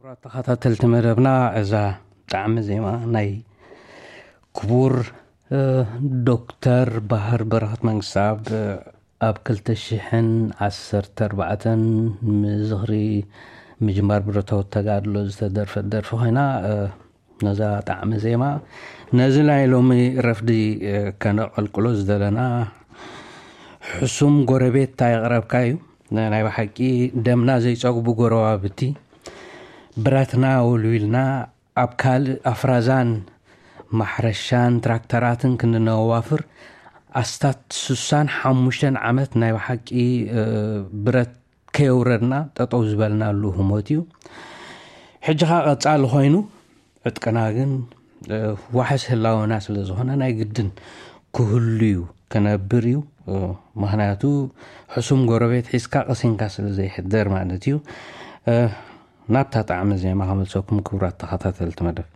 ክቡራት ተኸታተልቲ መደብና፣ እዛ ጣዕሚ ዜማ ናይ ክቡር ዶክተር ባህር በረኸት መንግስታብ ኣብ ክልተ ሽሕን ዓሰርተ ኣርባዕተን ምዝኽሪ ምጅማር ብረታዊ ተጋድሎ ዝተደርፈት ደርፊ ኮይና፣ ነዛ ጣዕሚ ዜማ ነዚ ናይ ሎሚ ረፍዲ ከነቐልቅሎ ዝደለና፣ ሕሱም ጎረቤት እንታይ የቕረብካ እዩ። ናይ ብሓቂ ደምና ዘይጸግቡ ጎረባብቲ፣ ብረትና ወልዊልና ኣብ ካልእ ኣፍራዛን ማሕረሻን ትራክተራትን ክንነዋፍር ኣስታት ሱሳን ሓሙሽተን ዓመት ናይ ብሓቂ ብረት ከየውረድና ጠጠው ዝበልናሉ ህሞት እዩ። ሕጂ ኸኣ ቀጻሊ ኮይኑ፣ ዕጥቅና ግን ዋሕስ ህላወና ስለ ዝኾነ ናይ ግድን ክህሉ እዩ፣ ክነብር እዩ። ምኽንያቱ ሕሱም ጎረቤት ሒዝካ ቀሲንካ ስለ ዘይሕደር ማለት እዩ። ናብታ ጣዕሚ ዜማ ከመልሰኩም ክቡራት ተኸታተልቲ መደብ።